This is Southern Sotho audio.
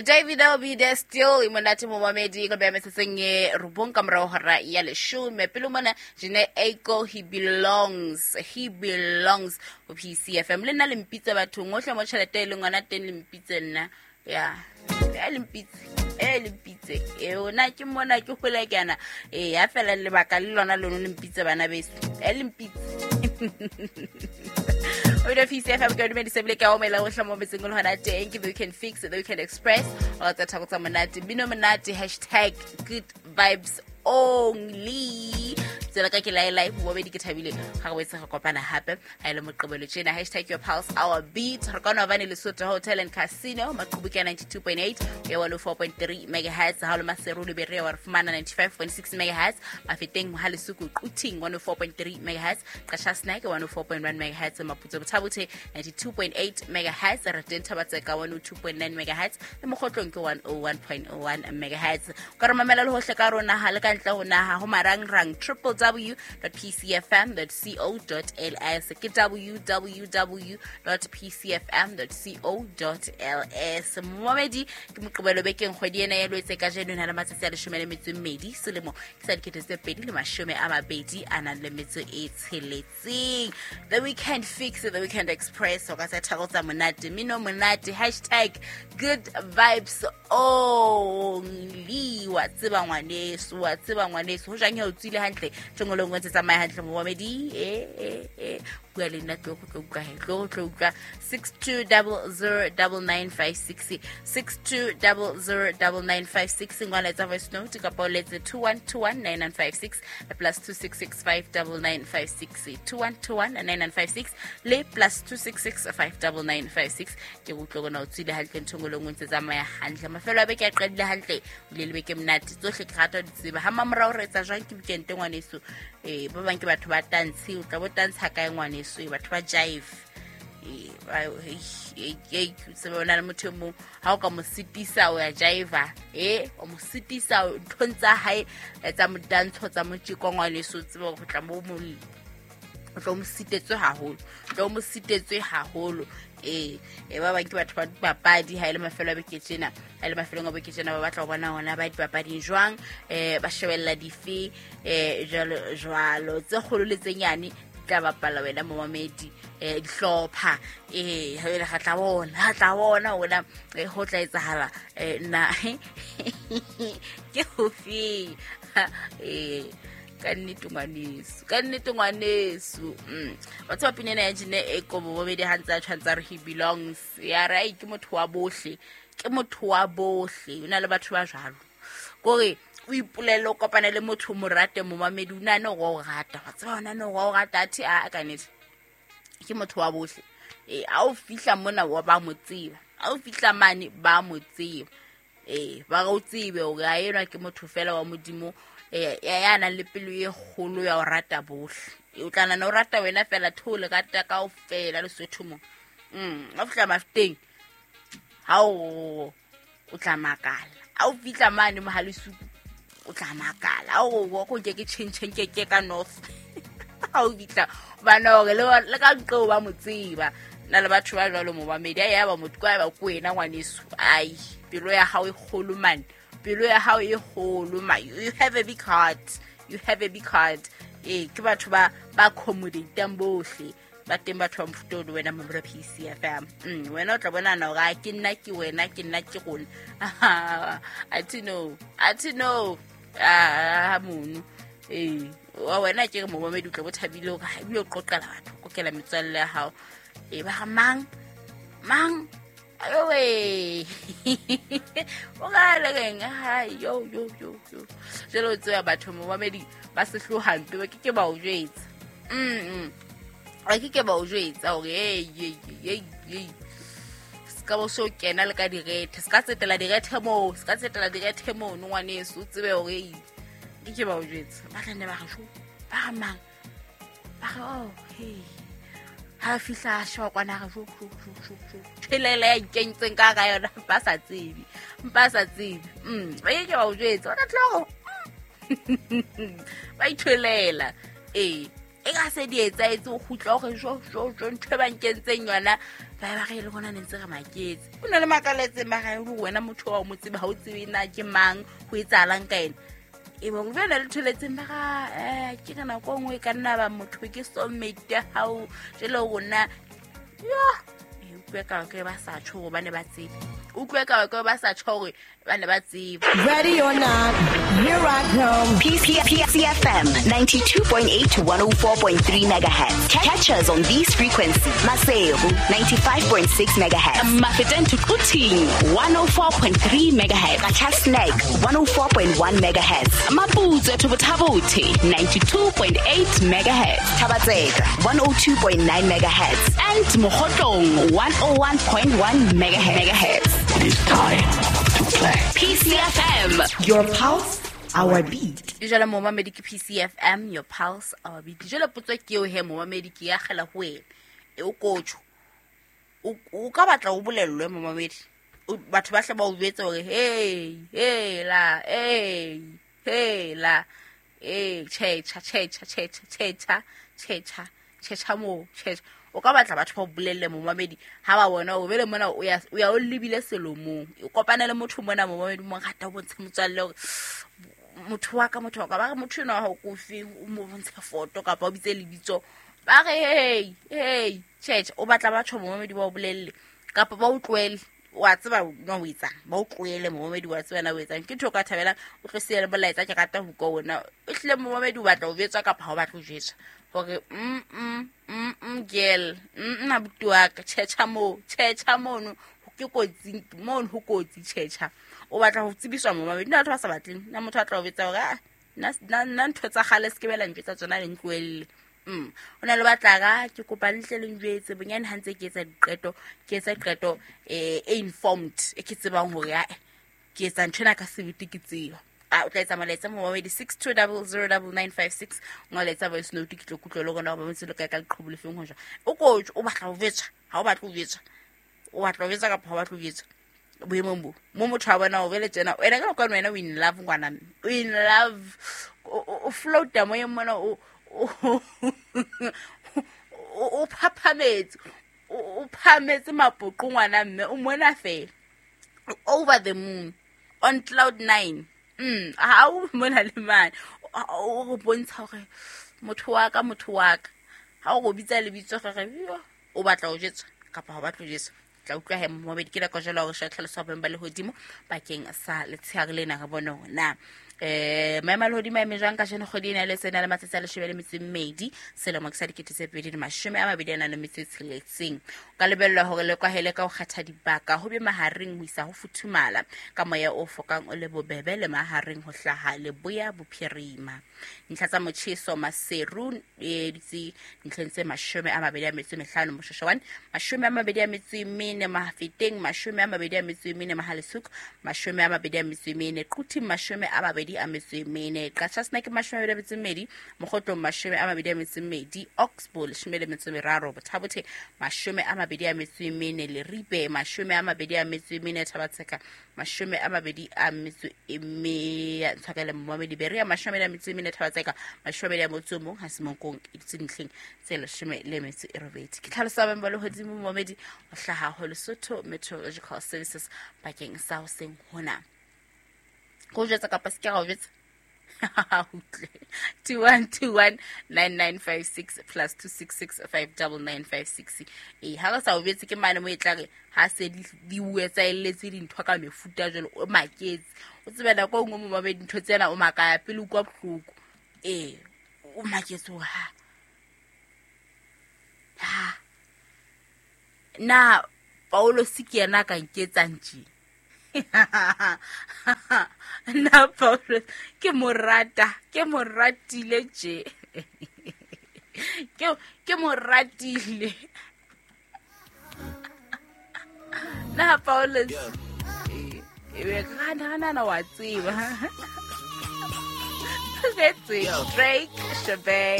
David will be there still e monate momamedi ka beya metsotsong e robong ka morago hora ya leshome. Pele mona Jene Aiko, he belongs, he belongs go PCFM. Le nna le mpitse bathong otlhe mo tšhelete e leng gona teng, le mpitse nna ya e le mpitse, e le mpitse eo na ke mona ke gole kana e ya fela lebaka le lona lone le mpitse bana beso, e le mpitse o ile PCFM. Ke dumedise bile ka omela go tlhamo metseng le hona teng ke The Weekend Fix, The Weekend Express o tsa thako tsa monate, bino monate, #GoodVibesOnly. Tsela ka ke laelai bobedi, ke thabile ga go etse ga kopana hape ha ile moqebelo tjena. #YourPulseOurBeat. Re kona bane Lesotho Hotel and Casino, maqhubu ke 92.8 ya 104.3 megahertz. Ha le Maseru le Berea wa re fumana 95.6 megahertz, Mafeteng ha Lesuku Quthing 104.3 megahertz, Qasha Snack 104.1 megahertz, Maputso Bothabothe 92.8 megahertz, re teng Thabatseka 102.9 megahertz le Mokgotlong ke 101.1 megahertz. Ka re mamela le hohle ka rona ha le ka ntle ho naha ho marangrang www.pcfm.co.ls, ke www.pcfm.co.ls. Momamedi, ke Moqebelo bekeng, kgwedi ena ya Lwetse ka jeno na le matsatsi a 12, selemo ke sa 2026. The Weekend Fix, The Weekend Express o ka tsa thako tsa monate, mino monate, #GoodVibesOnly. Wa tseba ngwaneso, wa tseba ngwaneso ho jang, o tswile hantle tjongolong, o ntse tsamaya hantle momamedi. E bua le nna, tlo go tlo utlwa he, tlo go tlo utlwa. 62009956, 62009956. Ngwana etsa voice note kapa o letse 21219956, +266 59956, 21219956 le +266 59956. Ke utlwe gona o tswile hantle nthongolong, o ntse tsamaya hantle, mafelo a beke a qadile hantle, o ile le beke monate, tsohle ke rata ho di tseba. Ha mamorao re etsa jwang ke weekend ngwaneso? Ba bang ke batho ba tantshe, o tla bo tantsha kae ngwaneso? Batho ba jive, tsebe o na le motho e mong ha o ka mo sitisa o ya jiva, e o mo sitisa nthong tsa hae tsa motantsho tsa motjeko ngwaneso, o tsebe go tla mo o tlo mo sitetswe haholo, tlo mo sitetswe haholo. Ee, ba bang ke batho ba dipapadi. Ha e le mafelo a beke tjena, ha e le mafelong a beke tjena, ba batla ho bona hona ba dipapading jwang, ba shebella dife, jwalo jwalo, tse kgolo le tse nyane di tla bapala wena momamedi, dihlopha. Ha ele ga tla bona, ga tla bona ona ho tla etsahala nna ke hofeng. Ka nnete ngwaneso, ka nnete ngwaneso, wa tseba pina ena ya Jene e kobo bobedi ha ntse a tshwantse a re he belongs, ya re ai ke motho wa bohle, ke motho wa bohle. O na le batho ba jwalo kore o ipolele, o kopane le motho o mo rate momamedi, o nane gore o rata, wa tseba o nane gore o rata, athe a ka nnete ke motho wa bohle. Ee, a o fihla mona wa ba mo tseba, a o fihla mane ba mo tseba, ee ba re o tsebe hore a enwa ke motho fela wa Modimo, ya nang le pelo e kgolo ya ho rata bohle. O tla nana o rata wena fela, theole rata kaofela Lesotho mo. A fihla Mafeteng ha o tla makala, a o fihla mane Mohalesuku o tla makala, a o go ke ke tšhentšheng ke ke ka north ha o fihla bana hore le ka nqeo ba mo tseba. Na le batho ba jwalo momamedi, a ya ba motho kwa ba ko wena ngwaneso, ai pelo ya hao e kgolo man, pelo ya hao e kgolo ma, you have a big heart, you have a big heart. Ee, ke batho ba accommodatang bohle ba teng, batho ba mofuta o le wena mamelo PCFM. Wena o tla bonana hore a ke nna ke wena, ke nna ke rona. Athe no, athe no, a mono ee wa wena ke re momamedi o tla bo thabile hore ha ebile o qoqela batho, o kokela metswalle ya hao, e ba re mang mang ayowe o ka le reng ha yo yo yo yo. Jwale o tseba batho momamedi ba sehlohampe, ba ke ke ba o jwetsa, ba ke ke ba o jwetsa hore ei ei ei ei se ka bo so kena le ka direthe, se ka tsetela direthe moo, se ka tsetela direthe mono ngwaneso, o tsebe hore ei ke ke ba o jwetsa. Ba tla nne ba re sho, ba re mang, ba re oh hey, ha fihla a sheba kwana, re sho sho sho sho sho thelele ya ikentseng ka ka yona, ba sa tsebe, ba sa tsebe. Ba ke ke ba o jwetsa, ba tla tlo ba itholela. Ee. E ka se di etsaetse o kgutla gore jo jo jo ntho e ba nkentseng yona ba ba re le rona ne ntse re maketse. O ne le makaletseng ba re wena motho wa o mo tsebe ha o tsebe na ke mang ho etsahalang ka ena. E bong jale le tholetseng ba ga ke ka nako e nngwe e ka nna ba motho ke soulmate ya hao jale rona yo e utlwe ka ke ba sa tjho gore ba ne ba tsebe utlwe ka ke ba sa tjho gore ba ne ba tseba. Ready or not, here I come. PCFM 92.8 to 104.3 megahertz. Catch us on these frequencies. Maseru 95.6 megahertz. Mafeteng to Quthing 104.3 megahertz. Qacha's Nek 104.1 megahertz. Maputsoe to Botha-Bothe 92.8 megahertz. Thaba-Tseka 102.9 megahertz. And Mokhotlong 101.1 megahertz. It is time to play. PCFM. Your pulse, our beat. Jwale momamedi ke PCFM, your pulse, our beat. Jwale potso ke eo he momamedi ke ya kgela ho wena. E o kotjho. O ka batla o bolellwe momamedi. Batho ba hle ba o jwetse hore hey, hey la, hey, hey la. Eh, tjhetjha, tjhetjha, tjhetjha, tjhetjha, tjhetjha, tjhetjha moo, tjhetjha. O ka batla batho ba o bolelle momamedi ha ba bona o bele mona o ya o ya o lebile selomong. O kopane le motho mona momamedi mo rata o bontshe motswalle hore motho wa ka motho wa ka ba re motho enwa ha o kofi o mo bontshe foto kapa o bitse lebitso ba re hey hey tjhetjha. O batla batho momamedi ba o bolelle kapa ba o tlohele wa tseba na o etsang ba o tlohele momamedi wa tseba na o etsang ke ntho o ka thabelang o tlo siya le molaetsa ke rata ho utlwa ona o hlile momamedi o batla ho jwetswa kapa ha o batle ho jwetswa hore girl abuti wa ka tjhetjha moo tjhetjha mono ke kotsi mono ho kotsi tjhetjha o batla ho tsebiswa momamedi nna batho ba sa batleng nna motho a tla o betsa hore ah nna ntho tsa kgale se ke bela ntho tsa tsona le ntlohelle. O na le batla ka ke kopa le tle le njwetse bonyane ha ntse ke etsa diqeto ke etsa qeto e informed e ke tsebang hore a ke etsa ntho ena ka sebete ke tseba. A o tla etsa molaetsa momamedi 62009956 ngoletsa voice note ke tlo kutlwa le rona hore ba ntse le kae ka leqhubu le feng ho jwang. O kotjho o batla ho jwetswa ha o batle ho jwetswa o batla ho jwetswa kapa ha o batle ho jwetswa boemong bo mo motho a bona o bele tjena wena ka nako wena o in love ngwana mme o in love o floata moyeng mona o o phaphametse o phametse mapoqo ngwana mme o mona fela over the moon on cloud 9. Ha o mona le mane o go bontsha hore motho wa ka ha o go bitsa lebitso re o batla ho jwetswa kapa ha o batle ho jwetswa. Tla utlwa he momamedi ke nako jwale hore tlhaloso ya boemo ba lehodimo bakeng sa letshehare lena re bone hore na maemo a lehodimo a eme jwang kajeno kgwedi ena le tsena le matsatsi a 12 selemo ke sa 2026. O ka lebellwa hore le kwahele ka ho kgetha dibaka ho be mahareng ho isa ho futhumala ka moya o fokang o le bobebe le mahareng ho hlaha leboya bophirima. Ntlha tsa motjheso Maseru e ditse ntlheng tse 25 Moshoshwane 24 Mafeteng 24 Mahalesuku 24 Quthing 24 Qacha's Nek 22 Mokhotlong 22 Oxbow 13 Botha-Bothe 24 Leribe 24 Thaba-Tseka 24 Ntshwakele momamedi Berea 24 Thaba-Tseka 21 ha Semonkong e ditse ntlheng tse 18. Ke tlhaloso ya boemo ba lehodimo momamedi ho hlaha ho Lesotho Meteorological Services bakeng sa hoseng hona. Go jwetsa kapa se ke ra o jwetsa utlwe 21219956 plus 266599956. E ha re sa o jwetse ke mane mo e tla re ha se di etsaelletse dintho ka mefuta jwalo o maketse o tsebe nako e nngwe momamedi ntho tsena o makaya pele o kwa bohloko o maketse hore ha na Paulo se ke yena a ka nketsang tje. Na Paulo ke mo rata ke mo ratile tje ke mo ratile na Paulo e be gana wa tseba. That's it. Drake Shabay.